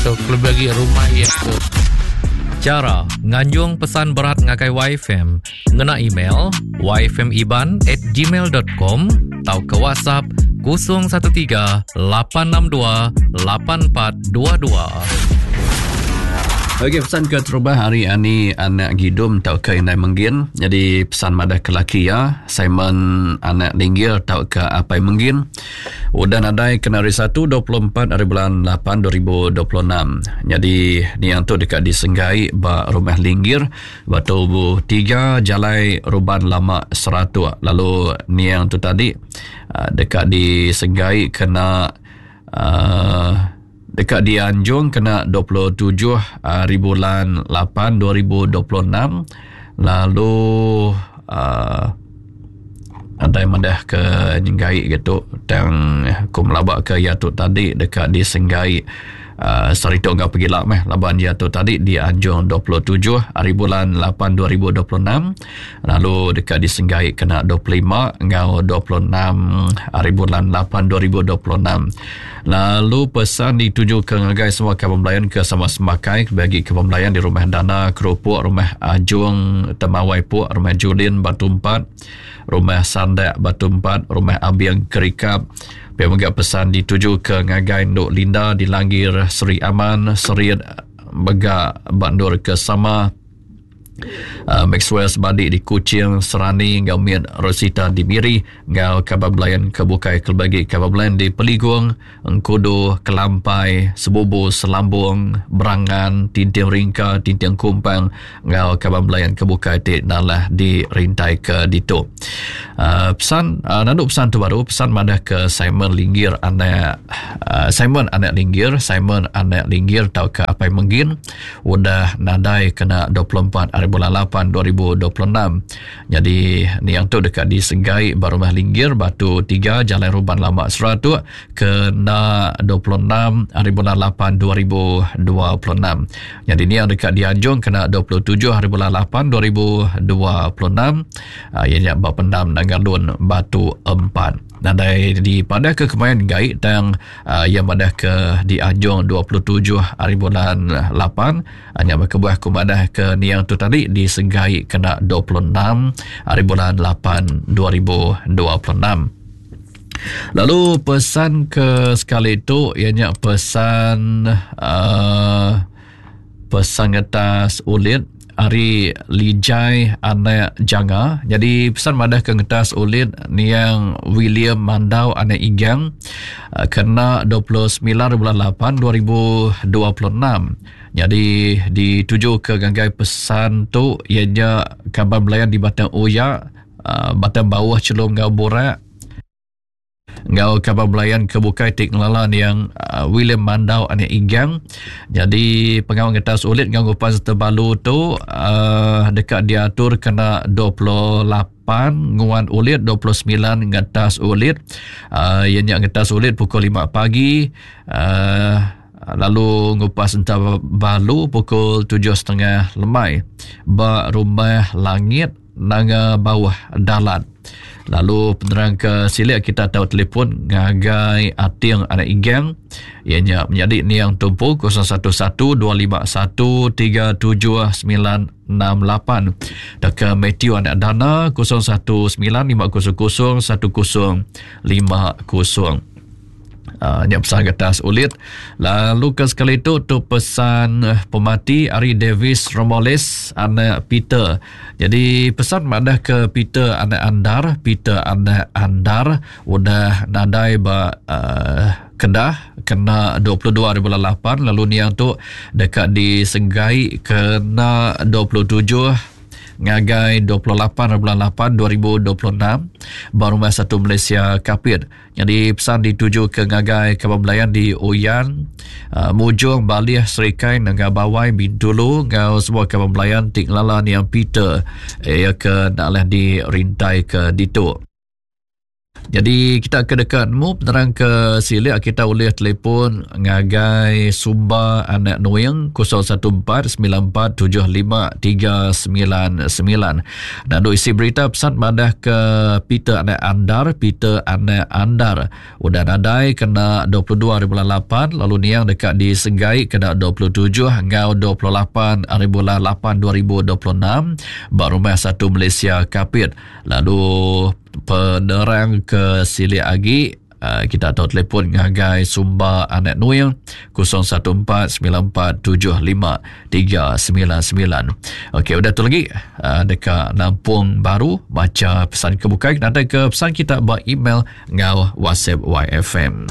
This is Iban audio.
Tu kelebih agi rumah iya tu. Chara nganjung pesan berat ngagai YFM ngena email yfmiban@gmail.com tauka WhatsApp 013 862 8422. Okey pesan ke terubah hari ani anak Gidum tauka indai Menggin. Jadi pesan madah ke laki iya Simon anak Linggir tauka apai Menggin. Udah nadai kena hari Satu 24 hari bulan 8 2026. Nyadi niang tu deka disenggai ba Rumah Linggir Batu Buh 3 Jalai Ruban Lama Seratuk. Lalu niang tu tadi ah, deka disenggai kena uh, deka dianjung kena 27 hari bulan 8 2026 lalu uh, Nadai madah ke nyenggai ke tu tang ku melaba ke iya tu tadi deka disenggai uh, sehari tu enggau pegila meh laban iya tu tadi dianjung 27 hari bulan 8 2026 lalu deka disenggai kena 25 enggau 26 hari bulan 8 2026 lalu pesan dituju ke ngagai semua kaban belayan ke sama semakai bagi kaban belayan di rumah Dana Kerupuk rumah Ajung Temawai Puk rumah Julin Batu 4 Rumah Sandak Batu 4, Rumah Abing Kerikap. Pia mega pesan dituju ke ngagai Enduk Linda di Langgir Seri Aman, Serit mega ba endur ke sama. Uh, Maxwell Sebadi di Kuching, Serani enggau Mit Rosita di Miri enggau kaban belayan ke bukai kelebih agi kaban belayan di Peligung, Engkudu, Kelampai, Sebubu, Selambung, Berangan, Tinting Ringka, Tinting Kumpang enggau kaban belayan ke bukai ti nalah di rintai ke ditu. Uh, pesan uh, nandu pesan tu baru pesan madah ke Simon Linggir anak uh, Simon anak Linggir, Simon anak Linggir tauka Apai Menggin udah nadai kena 24 hari bulan 8 2026. Nyadi niang tu deka disegai ba Rumah Linggir Batu 3 Jalai Ruban Lama Seratuk kena 26 hari bulan 8 2026. Nyadi niang deka dianjung kena 27 hari bulan 8 2026 iya nya ba pendam Nangalun Batu 4. Nadai dipadah ke kemain gai tang uh, iya madah ke dianjung 27 hari bulan 8 nya meh kebuah aku madah ke niang tu tadi disegai kena 26 hari bulan 8 2026. Lalu pesan ke sekali tu iya nya pesan uh, pesan ngetas ulit ari Lijai anak Janga. Jadi pesan madah ke ngetas ulit niang William Mandau anak Igang eh, kena 29 bulan 8 2026. Jadi dituju ke ngagai pesan tu iya nya kaban belayan di Batang Oya, eh, Batang Bauh Chelum enggau Burak enggau kaban belayan ke bukai ti ngelala niang uh, William Mandau anak Igang. Jadi pengawa ngetas ulit enggau ngupas tebalu tu uh, deka diatur kena 28 nguan ulit 29 ngetas ulit uh, iya nya ngetas ulit pukul 5 pagi uh, lalu ngupas enta balu pukul 7.30 lemai ba rumah langit Nanga Bauh Dalat. Lalu penerang ke silik kita tau telefon ngagai Ating anak Igang iya nya menyadi niang tumpu 0112513798 tauka Matthew anak Dana 0195001050. Uh, nya pesan kertas ulit. Lalu ke sekali tu tu pesan eh, pemati ari Davis Romoles anak Peter. Jadi pesan madah ke Peter anak Andar, Peter anak Andar udah nadai ba uh, Kedah kena 22 hari bulan 8 lalu niang tu deka disenggai kena 27 ngagai 28 hari bulan 8 2026 ba Rumah Satu Malaysia Kapit. Nyadi pesan dituju ke ngagai kaban belayan di Oyan, uh, Mujong, Balih, Serikai, Nanga Bawai, Bintulu enggau semua kaban belayan ti ngelala niang Peter iya ke enda alah dirintai ke ditu. Jadi kita ke deka nemu penerang ke silik kita ulih telefon ngagai Sumba Anak Nuing 0149475399. Nandu isi berita pesan madah ke Peter Anak Andar, Peter Anak Andar udah nadai kena 22 hari bulan 8 lalu niang deka disenggai kena 27 enggau 28 hari bulan 8 2026 ba Rumah Satu Malaysia Kapit. Lalu penerang ke silik agi uh, kita tahu telefon ngagai Sumba Anak Nuing 0149475399. Okey, udah tu lagi uh, deka nampung baru baca pesan ke bukai nanti ke pesan kita ba email ngau WhatsApp YFM.